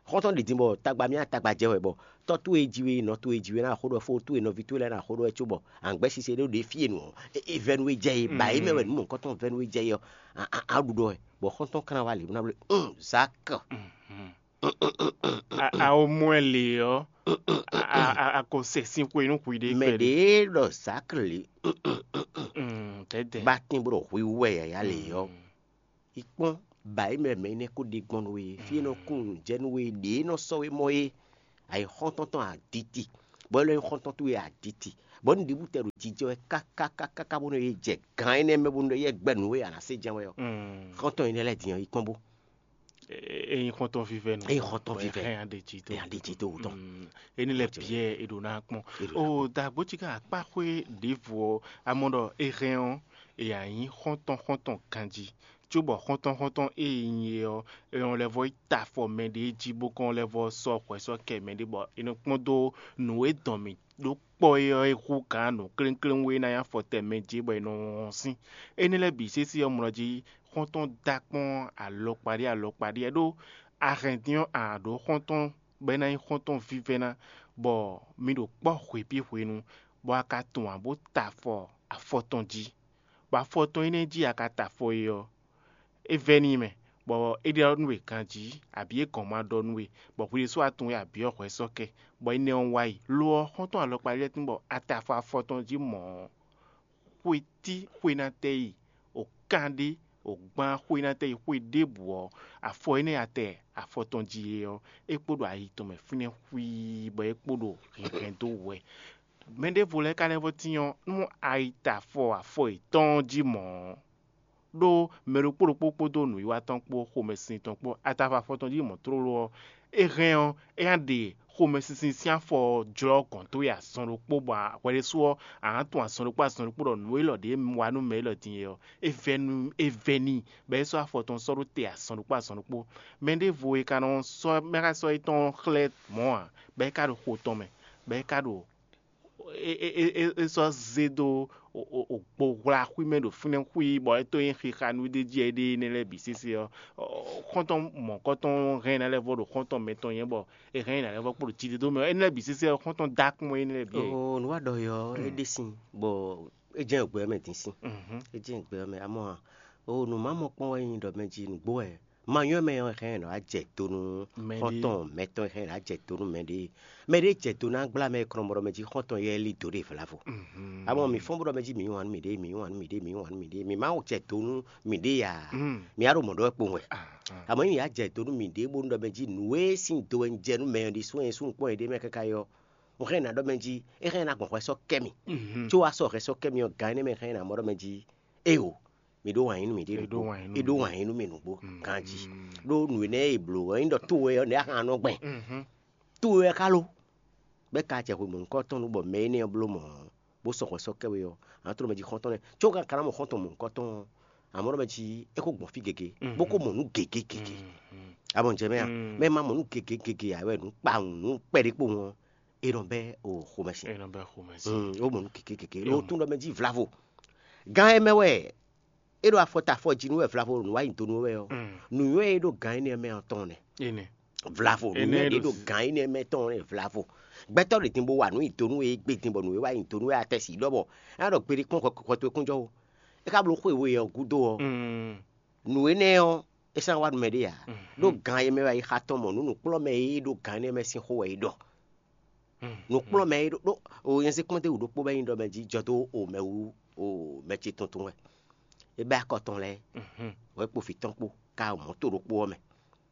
Xɔ́ntɔn ɖi din bɔ tagba mì tagba jɛ wɛ bɔ tɔ́ towe e ji we, nɔ towe e ji we ná xó ɖɔ fó towe nɔví towe lɛ́ɛ ná xó ɖɔ wɛ cóbɔ angbɛ́ sise ɖé ɖo ɖě fí e nǔ ɔ́, é vɛ́ nú we jɛ é, ba é mɛ wɛ nǔ mɔ̌hunkɔtɔn vɛ́ nú we jɛ é ɔ́, a ɖu ɖɔ wɛ. Bɔ xɔ́ntɔn ka ná wá lě bó ná bló un Zak. A- a o mɔ ɛ lě ɔ́, a- a- a- a ko sɛ sín xwe nú hwi ɖé Mɛ kpɛɖé. Ɖě ɖɔ Zak lě Mm, tɛ́tɛ́. Bá tín bó ɖɔ hwi wú wɛ yǎyá lě ɔ́. Yi kpɔ́n, ba é mɛ mɛ énɛ́ ko ɖe gbɔn nú we, fí e nɔ kún nǔ jɛ nú we, ɖě e nɔ sɔ́ we mɔ é. Ayǐ xɔ́ntɔn tɔn aditi, bɔ é lɔ nyí xɔ́ntɔn towe aditi, bɔ nǔɖiɖi tɛ ɖo jijɛ wɛ kákákákáká bónú é jɛ gǎn énɛ́ mɛ bónú é gbɛ nǔ e a nǎ se jɛ́n wɛ ɔ́. Xɔ́ntɔn énɛ́ lɛ́ɛ din ɔ́, yi kpɔ́n bó. Ényí xɔ́ntɔn vívɛ́ nɔ Ényí xɔ́ntɔn vívɛ́. Hɛn aɖeji tó Ényí aɖeji tó wútɔ. Éní lɛ biɛ è ɖo ná kpɔ́n. È ɖo ná o dagbo cí ká akpá xwé ɖěvo ɔ́, amɔ ɖɔ é hɛn ɔ́, è yǎ nyí xɔ́ntɔn xɔ́ntɔn ganjí. Cóbɔ xɔ́ntɔn xɔ́ntɔn e nyí é ɔ́, è nɔ lɛ́ vɔ́ yi ta afɔ mɛɖé jí bó kɔn lɛ́ vɔ́ sɔ́ hwɛ sɔ́ kɛ mɛɖé bɔ è nɔ kpɔ́n dó nǔ e dɔn mì ɖó kpɔ́ é ɔ́ é hú gǎn nǔklénklénwú e ná nyí afɔtɛn mɛ jí bɔ è nɔ wɔn sín. Énɛ́ lɛ́ɛ bǐ sésé ɔ́ mlɔ jí xɔ́ntɔn dó akpɔ́n alɔkpa ɖé alɔkpa ɖé ɖó a hɛn din ɔ́ a ɖǒ xɔ́ntɔn bɔ é ná nyí xɔ́ntɔn vívɛ́ná, bɔ mi ɖo kpɔ́ hwěpí hwenu, bɔ a ka tunwun ǎ bó ta afɔ afɔ tɔn jí, bɔ afɔ tɔn énɛ́ jí a ka ta afɔ é ɔ́, é vɛ́ n'i mɛ, bɔ é ɖɔ nú we ganjí, abǐ é gɔ̌n ma ɖɔ nú we, bɔ hwi ɖésú a tunwun wɛ abǐ ɔ́ hwɛ sɔ́ kɛ, bɔ énɛ́ ɔ́ wá yi. Lo ɔ́, xɔ́ntɔn alɔkpa lɛ́ɛ tín bɔ a ta afɔ afɔ tɔn jí mɔ̌ ɔ́, xwe tí xwe ná tɛ yi, o kan ɖé, o gbán xwe ná tɛ yi xwe ɖěbǔ ɔ́, afɔ énɛ́ a tɛ afɔ tɔn jí é ɔ́, é kpo ɖo ayi tɔn mɛ fínɛ́ xwíí, bɔ é kpo ɖo hɛnhɛn dó wɛ. Mɛ ɖěvo lɛ́ɛ ka lɛ́ vɔ́ tín ɔ́, nú a yi ta afɔ afɔ yětɔn jí mɔ̌ ɔ́, ɖó mɛ ɖokpó ɖokpó kpódó nǔwiwa tɔn kpó xomɛsin tɔn kpó atafɔ afɔ tɔn jí mɔ̌ tlóló ɔ́, é hɛn ɔ́, é ná ɖe xomɛsinsin sín afɔ ɔ́ jlɔ́ gɔ̌n towe azɔn ɖokpó, bɔ hwɛ ɖésú ɔ́, a nǎ tunwun azɔn ɖokpó azɔn ɖokpó ɖɔ nǔ élɔ́ ɖě wa nú mɛ élɔ́ din é ɔ́, é vɛ́ nú é vɛ́ n'i, bɔ é sɔ́ afɔ tɔn sɔ́ ɖó te azɔn ɖokpó azɔn ɖokpó. Mɛ ɖěvo e ka nɔ sɔ́ mɛ ka sɔ́ étɔn xlɛ́ mɔ̌ ǎ, bɔ é ka ɖo xo tɔn mɛ, bɔ é ka ɖo é é é é é sɔ́ zé dó o o o gbo hwla xwí mɛ ɖo fínɛ́ xwí, bɔ é tó nyí xixa nú ɖé jí é ɖe énɛ́ lɛ́ɛ bǐ sésé ɔ́, xɔ́ntɔn mɔ̌kɔ́tɔn hɛn ná lɛ́ vɔ ɖo xɔ́ntɔn mɛtɔn nyɛ bɔ è hɛn ná lɛ́ vɔ kpo ɖo jídédó mɛ ɔ́, énɛ́ lɛ́ɛ bǐ sésé ɔ́, xɔ́ntɔn dó akpɔ́n énɛ́ lɛ́ɛ bǐ. O nǔ wa ɖɔ é ɔ́, é ɖe sin, bɔ é jɛ́n gbɛ ɔ́ mɛ dín sin. É jɛ́n gbɛ ɔ́ mɛ, amɔ̌ a, o nǔ ma mɔ kpɔ́n wɛ nyí ɖɔ mɛ jí nǔgbó wɛ. Ma nyɔ́ mɛ ɔ́, hɛn nɔ wá jɛ do nú Mɛ ɖé. Xɔ́ntɔn mɛtɔn e hɛn nɔ wá jɛ do nú mɛ ɖé. Mɛ ɖé jɛ do ná gbla mɛ e kɔn nɔ mɔ ɖɔ mɛ jí xɔ́ntɔn yɛ lí dǒ ɖe vlavo. Amɔ mi fɔ́n bó ɖɔ mɛ jí mi yí wǎn nú miɖée, mi yí wǎn nú miɖée, mi má jɛ do nú miɖée ǎ. Mi á ɖo mɔ̌ ɖɔ wɛ kpowun wɛ. Amɔ ényí mi yá jɛ do nú miɖée bónú ɖɔ mɛ jí nǔ e sín do wɛ un jɛ nú mɛ ɔ́ ɖi sú wɛ un sú un kpɔ́n yěɖée mɛ káká é ɔ́, un hɛn ná ɖɔ mɛ jí é hɛn ná gbɔn hwɛ sɔ́ kɛ mi. Có wá sɔ́ hwɛ sɔ́ kɛ mi ɔ́, gan énɛ́ mɛ hɛn ná mɔ ɖɔ mɛ jí éeǒ, mi ɖó wǎn yí nú miɖée nǔgbó. É ɖó wǎn yí nú mi nǔgbó ganjí. Ɖó nǔ énɛ́ e è blǒ ɔ́ nyí ɖɔ towe ɔ́ nɛ̌ a hɛn nɔ gbɛn. Towe wɛ ka lo. Bɛ́ ka acɛ hwe mɔ̌hunkɔtɔn nu bɔ mɛ énɛ́ ɔ́ bló mɔ̌, bó sɔ́ hwɛ sɔ́ kɛ we ɔ́, a nǎ tló mɛ jí xɔ́ntɔn lɛ́ɛ, có ka ka ná mɔ xɔ́ntɔn mɔ̌hunkɔtɔn ɔ́, a mɔ ɖɔ mɛ jí é ko gbɔn fí gěgé, bó ko mɔ nǔ gěgé gěgé. A mɔ jɛ mɛ a? Mɛ ma mɔ nǔ gěgé gěgé ǎ wɛ nǔ kpawun nǔ kpɛɖé kpowun ɔ́, é nɔ bɛ́ o xomɛ sin. É nɔ bɛ́ xomɛ sin. Mm, ó mɔ nǔ gěgé gěgé. Lo tún ɖɔ mɛ jí vlavo. Gán e mɛ wɛ é ɖo afɔ ta afɔ jí nú wɛ vlavo nǔ wa nyi do nú wɛ ɔ́, nǔnywɛ́ e ɖo gǎn énɛ́ mɛ ɔ́ tɔn nɛ. Énɛ́. Vlavo, nǔnywɛ́ ɖé ɖo gǎn énɛ́ mɛ tɔn nɛ vlavo. Gbɛtɔ́ ɖě din bó wa nǔ nyi do nú we, é gbé din bɔ nǔ e wa nyi do nú wɛ atɛ́ si ɖɔ bɔ é ná ɖɔ gbeɖé kpɔ́n hwɛ hwɛ towe kún jɔ ó. É ka bló xwe we ɔ́ gúdo ɔ́, nǔ énɛ́ ɔ́, é sán wá nú mɛ ɖé ǎ. Ɖó gǎn e mɛ wɛ yi xa tɔn mɔ nǔ nǔkplɔ́mɛ e ɖo gǎn énɛ́ mɛ sín xó wɛ é ɖɔ. Nǔkplɔ́mɛ e ɖo ɖó o nyɛzikpɔ́n ɖé wú ɖokpó bɔ é nyí ɖɔ mɛ jí jɔ dó o mɛ wú o mɛ ce tuntun wɛ. É bɛ́ akɔ tɔn lɛ́ɛ, wɛ kpo vǐ tɔn kpó, ka o mɔ̌ to ɖokpó ɔ́ mɛ,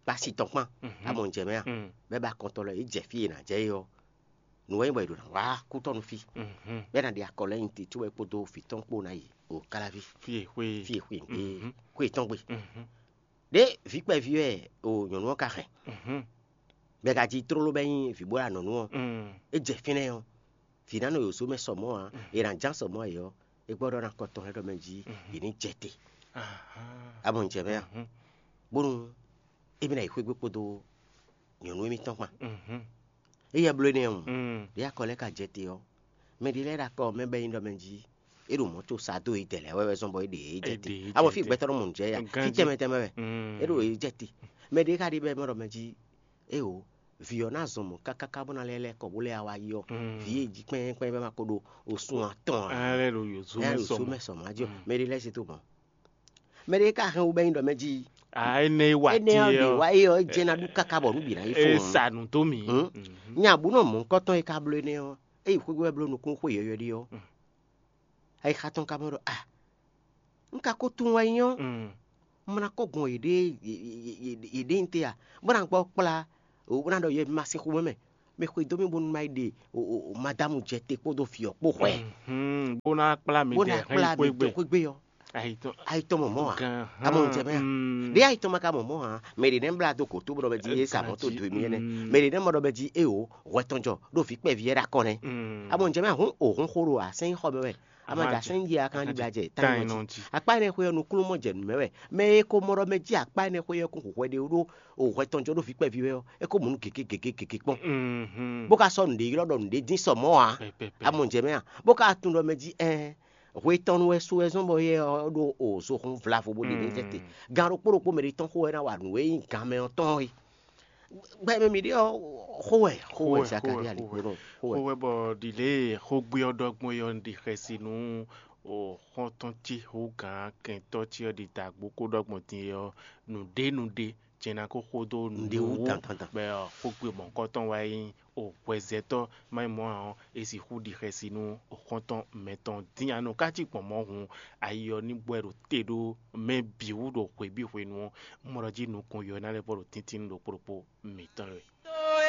kpá si tɔn kpán, a mɔ un jɛ mɛ a? Bɛ́ bɛ́ akɔ tɔn lɛ́ɛ, é jɛ fí e è nǎ jɛ é ɔ́, nǔ wɛ nyí bɔ è ɖo nǎ wá kú tɔn nú fí. Bɛ́ ná ɖi akɔ lɛ́ɛ nyi te có wɛ kpódó vǐ tɔn kpó ná yi o káláví Fí e xwé. Fí e xwé xwé tɔn gbe. Ɖé vǐ kpɛví wɛ o nyɔ̌nu ɔ́ ka hɛn. Bɛ ka jí tlóló bɛ nyí vǐ bó ɖo anɔ̌nu ɔ́. É jɛ fínɛ́ ɔ́, Vǐ ná nɔ yi wǒsó mɛ sɔmɔ̌ ǎ, è nǎ ján sɔmɔ̌ ayǐ ɔ́, é gbɔ ɖɔ ná kɔ tɔn lɛ́ɛ ɖɔ mɛ jí yě ní jɛ te. Amɔ un jɛ mɛ a? Bónú émí ná yi xwé gbe kpódó nyɔ̌nu émítɔn kpan. Éyɛ́ bló énɛ́ ɔ́, ɖě akɔ lɛ́ɛ ka jɛ te ɔ́, mɛ ɖé lɛ́ɛ ɖo akɔ mɛ bɔ é nyí ɖɔ mɛ jí é ɖo mɔ̌ có sa dó yědɛɛ lɛ́ɛ wɛ wɛ zɔ́n bɔ é ɖe yě jɛ te. Amɔ fí gbɛtɔ́ nɔ mɔ nǔ jɛ ya, fí tɛnmɛ tɛnmɛ wɛ é ɖo yě jɛ te. Mɛ ɖé ka ɖi bɔ é mɔ ɖɔ mɛ jí éwo, vǐ ɔ́ ná zɔn mɔ̌ káká bó ná lɛ́ lɛ́ kɔ bó lɛ́ wá yi ɔ́, vǐ e jí kpɛ́n kpɛ́n bɔ é ma ko ɖo osun atɔn ǎ. Ɛ lɛ́ ɖo yǒzo ɛ mɛ ɖo sɔ só mɛ. Mɛ sɔ mɔ̌ jí ɔ́, mɛ ɖé lɛ́ se tó mɔ̌. Mɛ ɖé ka hɛn wú bɔ é nyí ɖɔ mɛ jí A énɛ́ e wa énɛ́ ɔ́ ɖě wá é ɔ́, é jɛ ná ɖu káká bɔ nǔ bǐ ná yi fó. E sa nǔ dó mì. Nya bǔ nɔ mɔ̌hunkɔtɔn e ka bló énɛ́ ɔ́, é yi xwé wɛ bló nukúnnú xwe yɔ̌yɔ́ ɖé ɔ́, ayixa tɔn ka mɔ ɖɔ a un ka ko tunwun wɛ nyí ɔ́, un ma ná kɔ gbɔn yěɖée yěɖée nyí te a, bó ná gbɔ kplá bó ná ɖɔ yɛ ma sín xomɛ mɛ mɛ xwedó mì bónú má yi ɖe madámu jɛ te kpódó vǐ ɔ́ kpó hwɛ. Bó ná kplá mi bó ná dɛ hɛn kplá mi xwé gbé. Dɛ xwé gbé ɔ́. Ayitɔn. Ayitɔn mɔ mɔ̌ a? Gan-, amɔ ŋjɛ mɛ a? Ɖé ayitɔn ma ka mɔ mɔ̌ a? Mɛ ɖě nɛ́ blá dó gǒ tó bɔ ɖɔ mɛ jí é sa mɔ̌ tó do émí ɛnɛ́. Mɛ ɖě nɛ́ mɔ ɖɔ mɛ jí é o hwɛ tɔn jɔ ɖó vǐ kpɛví wɛ ɖo akɔ nɛ́. Amɔ ŋjɛ mɛ a hǔn o hún xó ɖo asɛ́nyí xɔ mɛ wɛ. Ama jɛ asɛ́nyí jí a kan ɖi blá jɛ tányi nɔ jí. Akpá énɛ́ xwé ɔ́ nukúnnú mɔ jɛ nǔ mɛ wɛ. Mɛ e ko mɔ ɖɔ mɛ jí akpá énɛ́ xwé ɔ́ kún hu hwɛ ɖé ɖó o hwɛ tɔn jɔ ɖó vǐ kpɛví wɛ ɔ́, é kó mɔ nú gěgé gěgé gěgé kpɔ́n. Bó ka sɔ́ nǔɖé ylɔ́ ɖɔ nǔɖé dín sɔ mɔ̌ a? Amɔ ŋjɛ mɛ a? Bó ka tunwun ɖɔ mɛ jí ɛɛ hwe tɔn nu wɛ su wɛ zɔ́n bɔ yɛ ɔ́ ɖo o zohun vlavo bó ɖe n'i jɛ te. Gan ɖokpó ɖokpó mɛ ɖé tɔn xo wɛ ná wa nǔ e nyí gan mɛ ɔ́ tɔn é. Gbɛ mɛ mi ɖe ɔ́ xo wɛ xo wɛ Xo wɛ, Zakaria xo wɛ, likpo nɔ xo wɛ. Xo wɛ bɔ ɖi lě e xógbé ɔ́ ɖɔ gbɔn é ɔ́, un ɖi xɛsi nú xɔ́ntɔn ce xó gǎn kɛntɔ́ ce ɔ́ ɖi dǎgbó kó ɖɔ gbɔn din é ɔ́, nǔɖé nǔɖé jɛ́n ná kó xo dó Nǔɖé wú nǔ dandandan. Bɔ xógbé mɔ̌hunkɔtɔn wá nyí o hwɛzɛ́tɔ́ má nyí mɔ̌ ǎ ɔ́, é sixú ɖi xɛsi nú xɔ́ntɔn mɛtɔn dín a nɔ ká cí gbɔn mɔ̌ hǔn, ayi ɔ́ ní gbɔ ɛ ɖo te ɖó mɛ bǐ wú ɖo hwebǐ hwenu ɔ́, un mɔ ɖɔ jí nukɔn yɔ ná lɛ́ vɔ ɖo tíntín ɖokpó ɖokpó mǐtɔn wɛ.